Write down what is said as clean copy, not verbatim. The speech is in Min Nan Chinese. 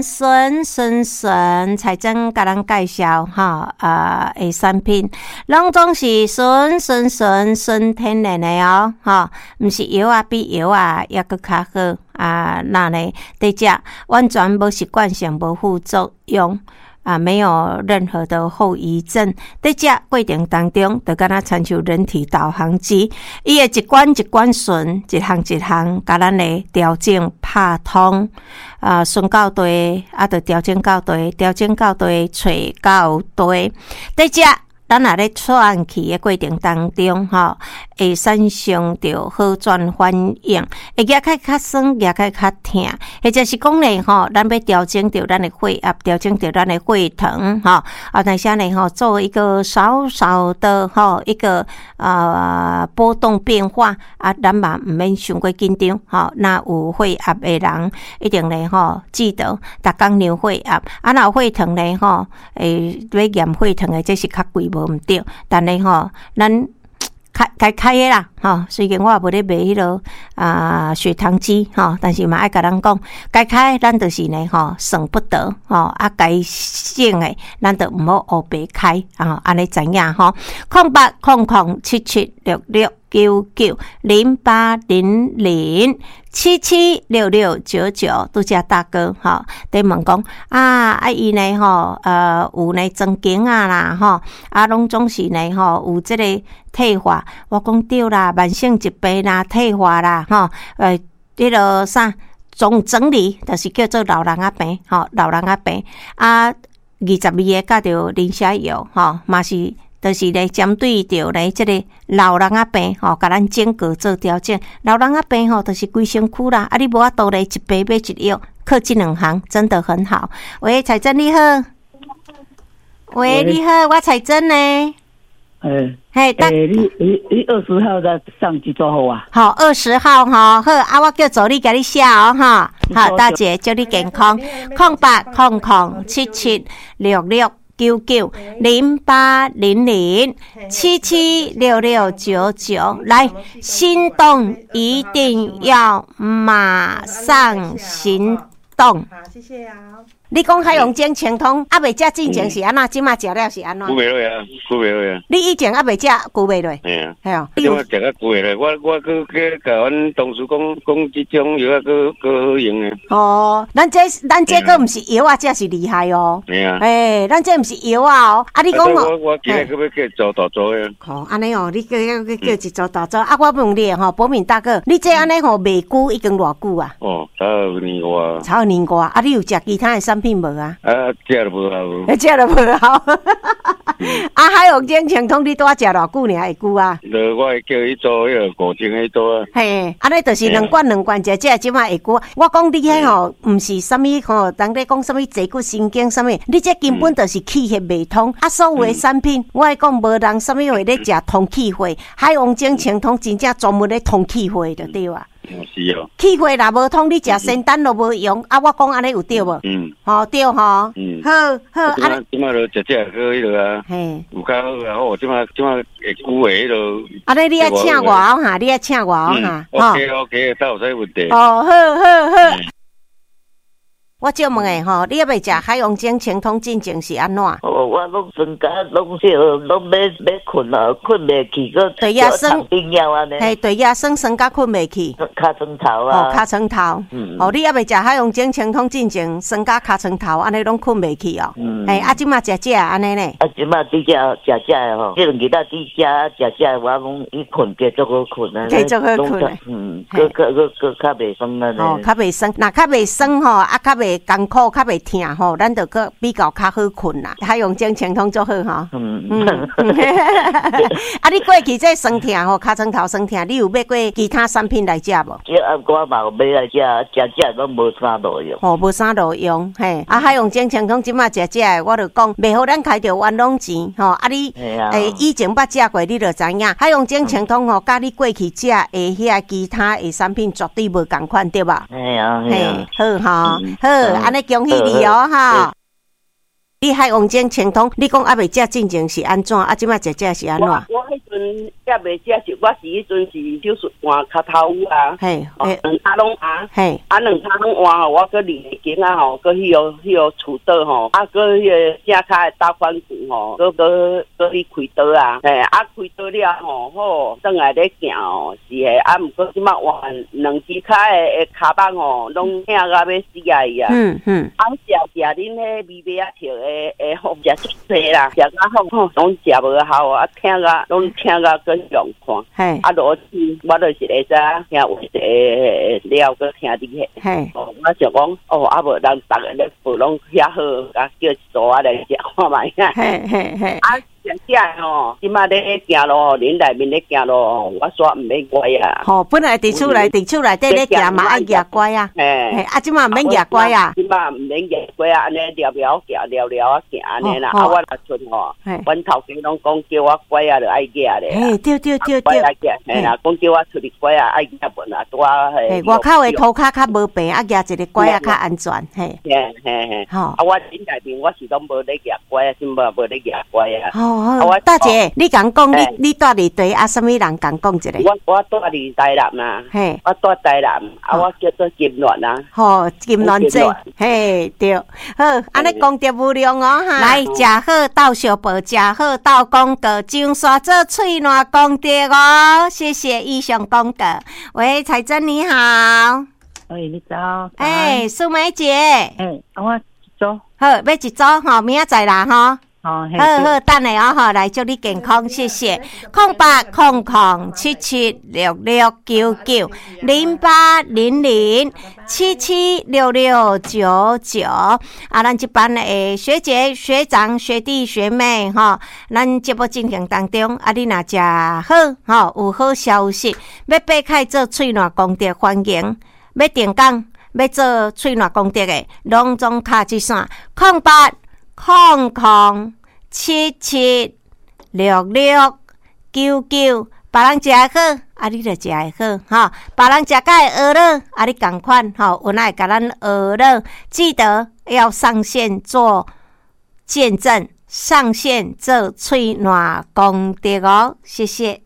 純純純，彩珍共咱介紹吼啊的產品，攏總是純純純純天然的哦，吼，毋是藥仔比藥仔猶閣較好啊。那呢，佇遮完全無習慣性，無副作用。啊，沒有任何的後遺症。佇這過程當中，就敢若親像人體導航機，伊會一關一關順，一項一項，共咱來調整拍通。啊，順到對，啊，就調整到對，調整到對，揣到對。佇遮，咱若咧喘氣的過程當中，吼，會產生著好轉反應，會舉起較酸，舉起較疼，或者是講咧，吼，咱欲調整著咱的血壓，調整著咱的血糖，吼，啊，但是呢，吼，做一個少少的吼一個波動變化，啊，咱嘛毋免傷過緊張，吼，若有血壓的人，一定咧，吼，記得逐工量血壓，啊，若有血糖咧，吼，會欲驗血糖的，這是較貴無毋對，但是吼，咱開該開的啦，吼，雖然我也無咧賣彼落啊血糖機，吼，但是嘛愛共人講，該開咱就是呢，吼，省不得，吼，啊，該省的，咱就毋好烏白開，啊，按呢知影吼，08007766990800776699，拄才大哥吼，佇問講啊，啊伊呢吼，有呢裝頸仔啦，吼，啊攏總是呢吼，有這個退化，我講對啦，慢性疾病啦，退化啦，吼，彼落啥總整理，就是叫做老人仔病，吼，老人仔病，啊，22个佮著磷蝦油，吼，嘛是。就是咧，針對著咧這個老人仔病吼，共咱整個做調整。老人仔病吼，就是規身軀啦。啊，你無法度咧，一病買一藥，靠這兩項真的很好。喂，彩珍你好。喂，你好，我彩珍呢。欸，嘿，欸，你20號再上幾多號啊？好，二十號吼，好，啊，我叫助理共你寫哦，哈，好，大姐祝你健康，08007766990800776699，來，心動一定要馬上行動。好，謝謝啊。你講海洋精清通，猶未食進前是按怎？這馬食了是按怎？久袂落啊，久袂落啊。你以前猶未食久袂落？嘿啊。嘿哦。這馬食較久袂落，我閣閣共阮同事講講，這種藥仔閣閣好用的。哦，咱這閣毋是藥仔，這是厲害哦。嘿啊。欸，咱這毋是藥仔哦。啊，你講哦。我今日閣欲叫做大組的。哦，按呢哦，你閣閣叫一組大組。啊，我問你吼，寶敏大哥，你這按呢吼賣久已經偌久啊？哦，差有年外。差有年外，啊，你有食其他的產品無啊？啊，食都無效。欸，食都無效。啊，海洋精清通你拄仔食偌久爾會久啊？就我會叫伊做彼個5000彼組啊。嘿，按呢就是兩罐兩罐食食，這馬會久。我講你彼吼，毋是啥物吼，人咧講啥物坐骨神經啥物，你這根本就是氣血袂通。啊，所有的產品，我會講無人啥物會咧食通氣血，海王精清通真正專門咧通氣血就對啊。是哦。氣血若無通，你食仙丹都無用。啊，我講按呢有對無？嗯。吼對吼。嗯。好，好。啊，這馬就食食閣彼落啊。嘿。有較好啊，好，這馬會久的彼落。按呢你愛請我哦哈，你愛請我哦哈。 OK OK，倒有啥問題？哦，好好好。我借問的吼，你猶未食海洋精清通進前是按怎？哦，我攏酸甲攏小，攏欲睏啊，睏袂去，閣對呀，酸冰藥按呢。嘿，對呀，酸酸甲睏袂去。尻川頭啊。哦，尻川頭。嗯。哦，你猶未食海洋精清通進前，酸甲尻川頭，按呢攏睏袂去哦。嗯。嘿，啊，這馬食食按呢呢？啊，這馬佇遮食食的吼，這兩日仔佇遮食食的，我攏伊睏加足好睏啊。加足好睏。嗯，閣閣閣閣較袂酸按呢。哦，較袂酸，若較袂酸吼，啊，較袂艱苦，較袂疼吼，咱就閣比較較好睏啦。海洋精清通足好吼。嗯。啊，你過去這酸疼吼，尻川頭酸疼，你有買過其他產品來食無？這啊，我嘛有買來食，食食攏無啥路用。吼，無啥路用，嘿。啊，海洋精清通這馬食食的，我就講袂予咱開著冤枉錢吼。啊，你欸以前捌食過，你就知影。海洋精清通吼，佮你過去食的遐其他的產品絕對無仝款，對無？嘿啊，嘿，好吼，好，按呢恭喜你哦，哈。你海王精清湯，你講猶未食進前是按怎？啊，這擺食食是按怎？我彼陣猶未食是，我是彼陣是手術換跤頭啊，兩跤攏換，啊兩跤攏換吼，我閣二間啊吼，閣彼個厝倒吼，啊閣彼個正跤的打反骨吼，閣去開刀啊，嘿，啊開刀了吼，好，轉來咧行吼，是的，啊毋過這擺換兩隻跤的跤蠓吼，攏疼甲欲死啊伊啊，啊食食恁彼米麥仔笑的。會好食足濟啦，食甲好吼，攏食無效啊，疼甲攏疼甲閣用看。啊，落去我就是會使聽話了，閣聽你彼。哦，我想講，哦，啊無咱逐个咧報攏遐好，啊叫一組仔來食看覓啊。啊，食食吼，這擺咧行路吼，恁內面咧行路吼，我煞毋免拐啊。吼，本來佇厝內，佇厝內底咧行嘛愛蜈拐啊。嘿。啊，這擺毋免蜈拐啊。這擺毋免蜈拐啊，按呢聊聊行，聊聊啊行按呢啦。啊，我若賰吼，阮頭家攏講叫我拐仔就愛蜈咧。嘿，對對對對。拐仔蜈，嘿啦，講叫我出去拐仔愛蜈無啦，拄啊嘿。外口的塗跤較無平，啊蜈一个拐仔較安全，嘿。嘿嘿嘿。吼。啊，我恁內面我是攏無咧蜈拐仔，這擺無咧蜈拐仔。哦，大姐，你共講，你住佇佗啊？啥物人共講一下？我住佇台南啊，嘿，我住台南，啊，我叫做金鑾啊。吼，金鑾姐，嘿，對，好，按呢功德無量哦，哈。來，食好鬥相報，食好鬥廣告，上線做喙瀾功德哦。謝謝以上廣告。喂，彩珍你好。喂，你早。欸，素梅姐。欸，我一組。好，欲一組吼，明仔載啦吼。好，好，等下哦，吼，來祝你健康，謝謝。0800776699，0800776699。啊，咱這班的學姐、學長、學弟、學妹，吼，咱節目進行當中，啊，你若食好，吼，有好消息，欲爬開做喙瀾功德，歡迎，欲定工，欲做喙瀾功德的，攏總敲這線，0800776699，別人食會好，啊，你就食會好，吼，別人食甲會餓了，啊，你仝款，吼，有哪會共咱學了，記得要上線做見證，上線做喙瀾功德哦，謝謝。